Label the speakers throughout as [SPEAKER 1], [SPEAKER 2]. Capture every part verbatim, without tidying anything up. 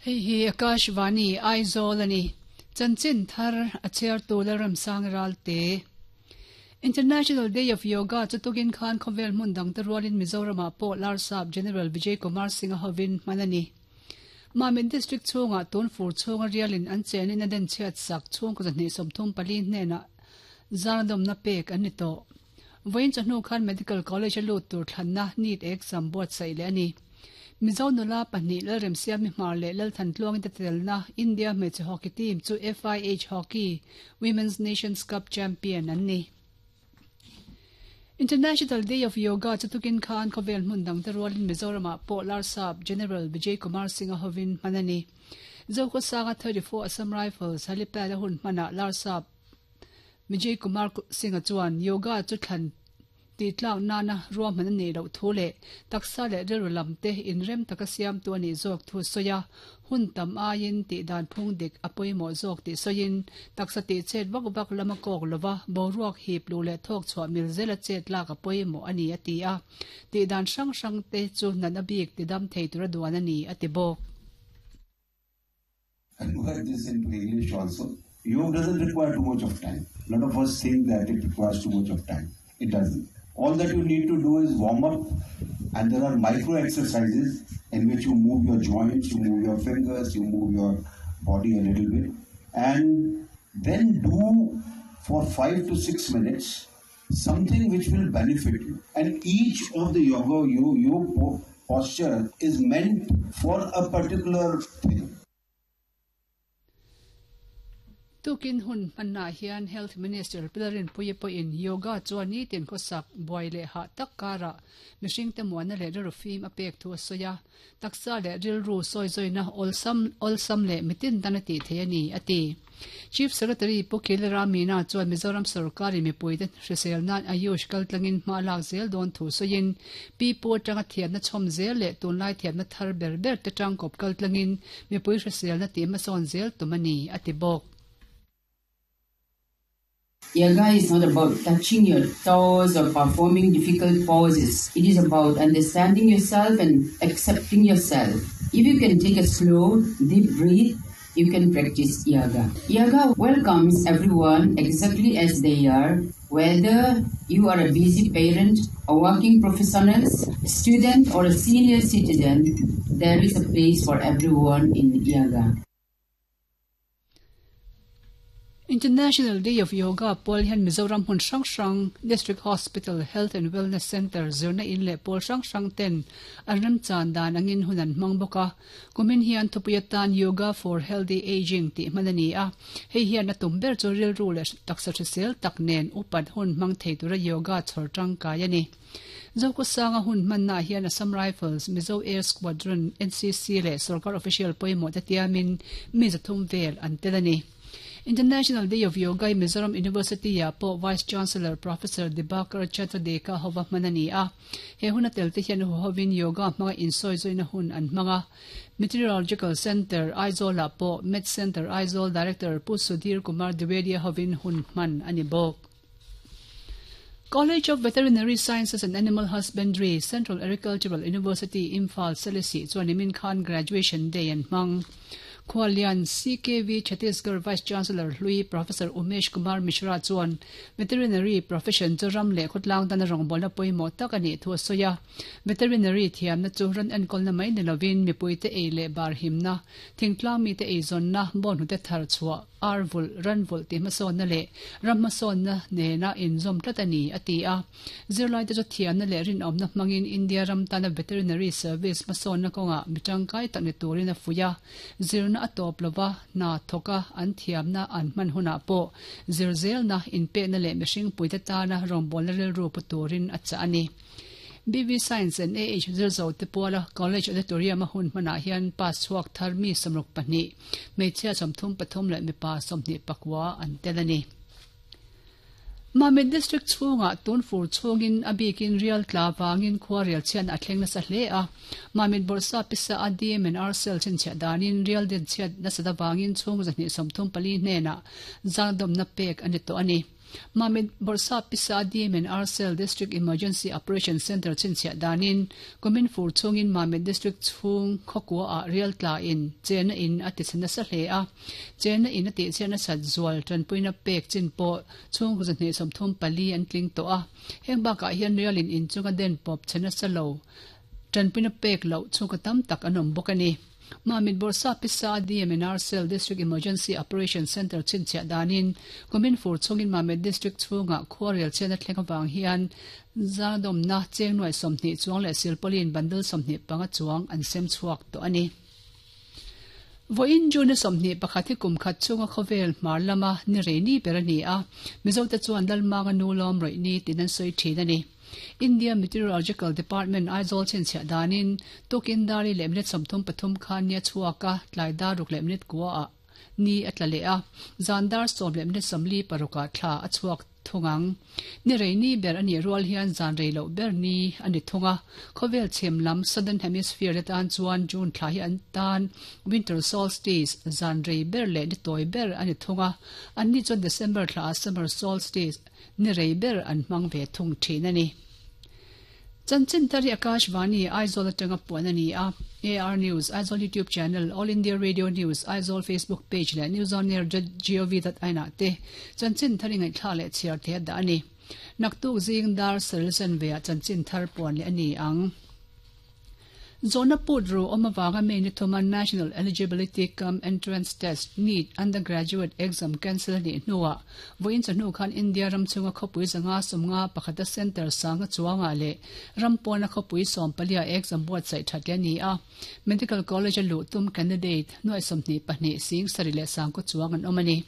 [SPEAKER 1] Hei hi Akashvani Aizawl ani. Chanchin thar a chair tu Lalram Sang Ralte. International Day of Yoga chu tukin khan khawvel hmun dang te rualin Mizoramah pawh Larsap General Vijay Kumar Singh a hovin hman ani. Mamit District chhungah tun fur chhunga rialin an chenin a den chhiat sak chhung kaw zahnih sawmthum pali hnenah zarnadawmna pek an ni tawh. Vawiin chawhnu khan Medical College a lut tur thlanna NEET exam buatsaih leh ani. Mizo nula pahnih Lalremsiami Hmar leh Lalthan Tluangin te telna India hmeichhe hockey team chu F I H Hockey Women's Nations Cup champion an ni. International Day of Yoga chu tukin khan khawvel hmun dang te rualin Mizoramah pawh Larsap General Vijay Kumar Singh a hovin hman ani. Zokhawsanga thirty-four Assam Rifles helipad a hun hmanah Larsap Vijay Kumar Singh a chuan yoga chu thlan ti tlak nana ruahman ani loh thu leh taksa leh rilru lam te inrem taka siam tu ani zawk thu sawi a, hun tam aiin tih dan phung dik a pawimawh zawk tih sawiin taksa tih chet vak vak lama kawk lova boruak hip lu leh thawk chhuah mil zela chet lak a pawimawh ani a ti a, tih dan hrang hrang te chu nan a bik ti dam thei tura duan ani a ti bawk.
[SPEAKER 2] Convert this into English also. Yoga doesn't require too much of time. A lot of us think that it requires too much of time. It doesn't. All that you need to do is warm up, and there are micro exercises in which you move your joints, you move your fingers, you move your body a little bit, and then do for five to six minutes something which will benefit you. And each of the yoga, yoga, yoga posture is meant for a particular thing.
[SPEAKER 1] Tukin hun manna hian Health Minister Pilarin Puipo in yoga chuan ni tin khawsak buai leh ha tak kara mihring te muana leh rilru fim a pek thu a sawi a, taksa leh rilru sawi zawina awlsam awlsam leh mitin tan a tih thei ani a ti. Chief Secretary Pu Khilra Meena chuan Mizoram sarkari mipui te hrisel nan Ayush kaltlangin hma lak zel dawn thu sawiin pi pu atanga thiamna chhawm zel leh tunlai thiamna thar ber ber te tangkawp kaltlangin mipui hrisel na tih hmasawn zel tum ani a ti bawk.
[SPEAKER 3] Yoga is not about touching your toes or performing difficult poses. It is about understanding yourself and accepting yourself. If you can take a slow, deep breath, you can practice yoga. Yoga welcomes everyone exactly as they are, whether you are a busy parent, a working professional, a student or a senior citizen, there is a place for everyone in yoga.
[SPEAKER 1] International Day of Yoga Paul hian Mizoram hmun hrang hrang District Hospital Health and Wellness Center zirna in leh pawl hrang hrang ten an rem chan dan angin hun an hmang bawk a, kumin hian thupui atan Yoga for Healthy Aging tih hman ani a, hei hian a tum ber chu rilru leh taksa hrisel tak nen upat hun hmang thei tura yoga chhawr tangkai ani. Zokhawsanga hun hmanna hian Assam Rifles, Mizo Air Squadron, N C C leh sarkar official pawimawh te tiamin mi zathum vel an tel ani. International Day of Yoga in Mizoram University ya po Vice Chancellor Professor Dibakar Chatradeka hova hmanani a, he huna tel te hian hovin yoga hmanga insoi zoina hun an hmanga. Meteorological Center Aizawl ah po Met Center Aizawl Director Pu Sudhir Kumar Dwivedi hovin hun hman ani bawk. College of Veterinary Sciences and Animal Husbandry, Central Agricultural University, Imphal, Selesih chuan nimin khan Graduation Day an hmang. Khuallian C K V Chhattisgarh Vice Chancellor Hlui Professor Umesh Kumar Mishra chuan veterinary profession chu ram leh khawtlang tan a rawngbawlna pawimawh tak ani thu a sawi a, veterinary thiamna chu ran enkawlna mai ni lovin mipui te ei leh bar himna, thingtlang mi te eizawnna, bawn hnute thar chhuah, ar vul, ran vul tih hmasawnna leh ram hmasawnna nena inzawm tlat ani a ti a. Zirlai te chu thiamna leh rinawmna hmangin India ram tana veterinary service hmasawnna kawngah mi tangkai tak ni turin a fuih a, zirna a tawp lova na thoka an thiamna an hman hunah pawh zirzelna inpekna leh mihring puite tana rawngbawlna rilru pu turin a chah ani. B V Science and A H zirzo te puala College Auditorium a hun hmanah hian pass chhuak thar mi sawmruk pahnih, hmeichhia sawmthum pathum leh mipa sawmhnih pakua an tel ani. Mamit District chhungah tun fur chhungin a bikin rial tla wangin khua rial chian a thleng nasa hle a, Mamit Bawrhsa pisa a D M and R cell chhinchhiah danin rial den chhiat nasa da wangin chhung zahnih sawmthum pali hnenah zangdawmna pek ani tawh ani. Mamit Bawrhsap Pisa D M and R Cell District Emergency Operation Centre chhinchhiah danin kumin fur chhungin Mamit District chhung khawkua ah rial tla in chenna in a tichhe nasa hle a. Chenna in a tihchhiat nasat zual tanpuina pek chin pawh chhungkaw zahnih sawmthum pali an tling tawh a. Heng bakah hian rialin inchunga den pawp chhe nasa lo tanpuina pek loh chhungkaw tam tak an awm bawk a ni. Mamit Bawrhsap Pisa D M and R Cell District Emergency Operation Centre chhinchhiah danin kumin fur chhungin Mamit District chhungah khuarel chhiatna thleng avang hian zadawmna cheng nuai sawmhnih chuang leh silpauline bundle sawmhnih panga chuang an sem chhuak tawh a ni. Vawiin June sawmhnih pakhat hi kum khat chhunga khawvel hmar lama ni rei ni ber a ni a, Mizote chuan Lalmanga nu lawm rawih ni tiin an sawi thin a ni. India Meteorological Department Aizawl chhinchhiah danin tukin dar li leh minute sawmthum pathum khan ni a chhuak a, tlai dar ruk leh minute kua ah ni a tla leh a, zan dar sawm leh minute sawmli parukah thla a chhuak thung ang. Ni rei ni ber a nih rual hian zan rei loh ber ni a ni thung a. Khawvel chhim lam Southern Hemisphere te tan chuan June thla hi an tan Winter Solstice zan rei ber leh ni tawi ber a ni thung a. Anni chuan December thla ah Summer Solstice ni rei ber an hmang ve thung thin a ni. Chanchin thar hi Akashvani Aizawl atanga puan a ni a. A R News Aizawl YouTube channel, All India Radio News Aizawl Facebook page leh News on Air dot gov dot in ah te chanchin thar i ngaihthlak leh chhiar thei a dah a ni. Naktuk zing dar saril chanve ah chanchin thar puan leh a ni ang. Zawhna put ru awm avanga May ni thuma National Eligibility cum Entrance Test, NEET, undergraduate exam cancel a nih hnuah vawiin chawhnu khan India ram chhunga khawpui zanga sawmnga pakhata centre sanga chuangah leh ram pawna khawpui sawm palia exam buatsaih that leh a ni a. Medical College a luh tum candidate nuai sawmhnih pahnih sing sarih leh sangkaw chuang an awm a ni.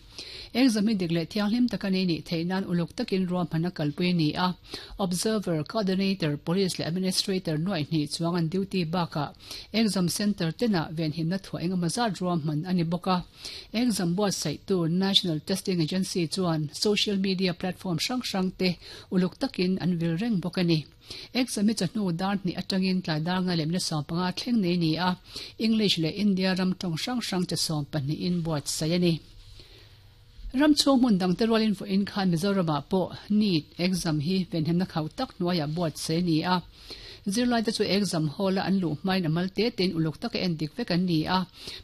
[SPEAKER 1] Exam hi dik leh thianghlim taka nei nih theih nan uluk takin ruahman a kalpui a ni a. Observer, coordinator, police leh administrator nuai hnih chuang an duty bakah exam centre tenah venhimna thuah engemaw zat ruahman a ni bawk a. Exam buatsaihtu National Testing Agency chuan social media platform hrang hrang te uluk takin an vil reng bawk a ni. Exam hi chawhnu dar hnih atangin tlai dar nga leh minute sawm panga thleng nei a ni a. English leh India ram tawng hrang hrang chi sawm pahnihin buatsaih a ni. Ram chhung hmun dangte rualin vawiin khan Mizoramah pawh NEET exam hi venhimna khauh tak hnuaiah buatsaih a ni a. Zirlaite chu exam hall-a an luh hmain a mal te tein uluk taka en dik vek an ni a,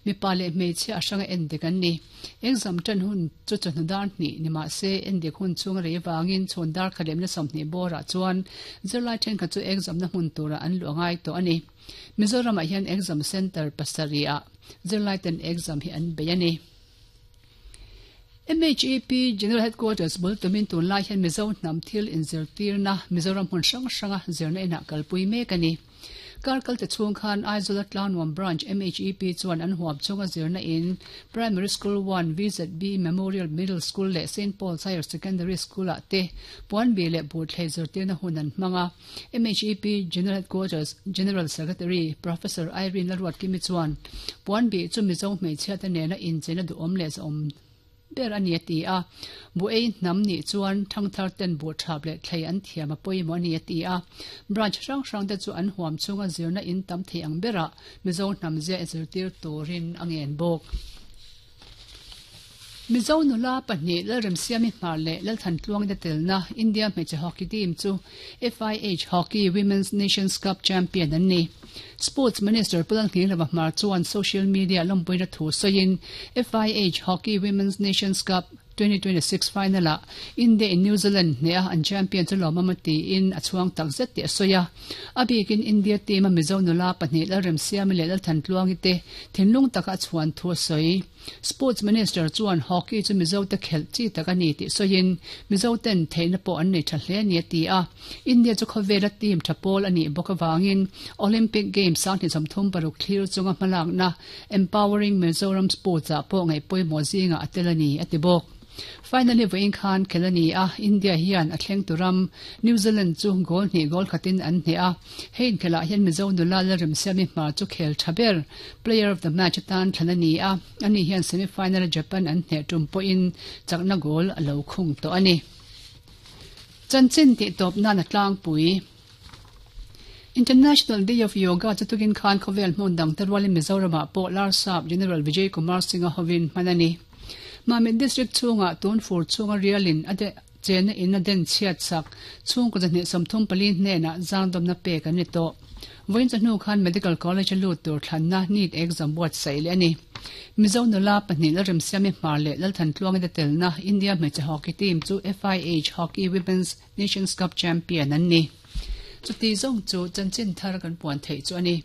[SPEAKER 1] mipa leh hmeichhia a hranga en dik an ni. Exam tan hun chu chawhnu dar hnih ni mah se en dik hun chhung a rei avangin chhun dar khat leh minute sawmhnih bawrah chuan zirlai thenkhat chu exam na hmun turah an luh a ngai tawh a ni. Mizoramah hian exam centre pasarih ah zirlaiten exam hi an bei a ni. M H E P General Headquarters bul tumin tunlai hian Mizo hnam thil inzirtirna Mizoram hmun hrang hranga zirna inah kalpui mek a ni. Kar kalte chhung khan Aizawl Tlangnuam Branch M H E P chuan an huam chunga zirna in Primary School one, V Z B Memorial Middle School leh Saint Paul's Higher Secondary School ah te puanbi leh buhthlei zirtirna hun an hmang a. M H E P General Headquarters General Secretary Professor Irene Lalruatkimi chuan puanbi chu Mizo hmeichhia te nena incheina duhawm leh zahawm ber a ni a ti a. Bu ei hnam nih chuan thangthar ten buh thap leh thlei an thiam a pawimawh a ni a ti a. Branch hrang hrang te chu an huam chunga zirna in tam thei ang berah Mizo hnam zia zirtir turin a ngen bawk. Mizo nula pahnih Lalremsiami Hmar leh Lalthantluang te telna India hmeichhe hockey team chu F I H Hockey Women's Nations Cup champion an ni. Sports Minister Pu Lalnghinglova Hmar chuan social media lawmpuina thu sawiin F I H Hockey Women's Nations Cup twenty twenty-six final ah India in New Zealand hneha an champion chu lawmawm a tiin a chhuang tak zet tih a sawi a. A bikin India team a Mizo nula pahnih Lalremsiami leh Lalthantluangi te thinlung taka a chhuan thu a sawi. Sports Minister chuan hockey chu Mizo te khelh chi tak a ni tih sawiin Mizo ten theihna pawh an nei tha hle a ni a ti a. India chu khawvela team tha pawl a nih bawk avangin Olympic Games sanghnih sawmthum paruk thlir chunga hmalakna Empowering Mizoram Sports ah pawh ngaih pawimawh zingah a tel a ni a ti bawk. Finally vawiin khan khel a ni a, India hian a thleng turam New Zealand chu goal hnih goal khatin an hneh a. Hei inkhelah hian Mizo nula Lalremsiami Hmar chu khel tha ber player of the match atan thlan a ni a. Ani hian semi-final Japan an hneh tum pawhin chakna goal a lo khung tawh a ni. Chanchin tih tawp nan a tlangpui. International Day of Yoga chu tukin khan khawvel hmun dang te rualin Mizoramah pawh Larsap General Vijay Kumar Singh a hovin hman a ni. Mamit District chhungah tun fur chhunga rialin a de Chenna in a den chhiat sak chhungkaw zahnih sawmthum pali hnenah zangdawmna pek an ni tawh. Vawiin chawhnu khan Medical College a lut tur thlanna NEET exam buatsaih leh a ni. Mizo nula pahnih Lalremsiami Hmar leh Lalthantluangi te telna India hmeichhe hockey team chu FIH Hockey Women's Nations Cup champion an ni. Chuti zawng chu chanchin thar kan puan theih chu a ni.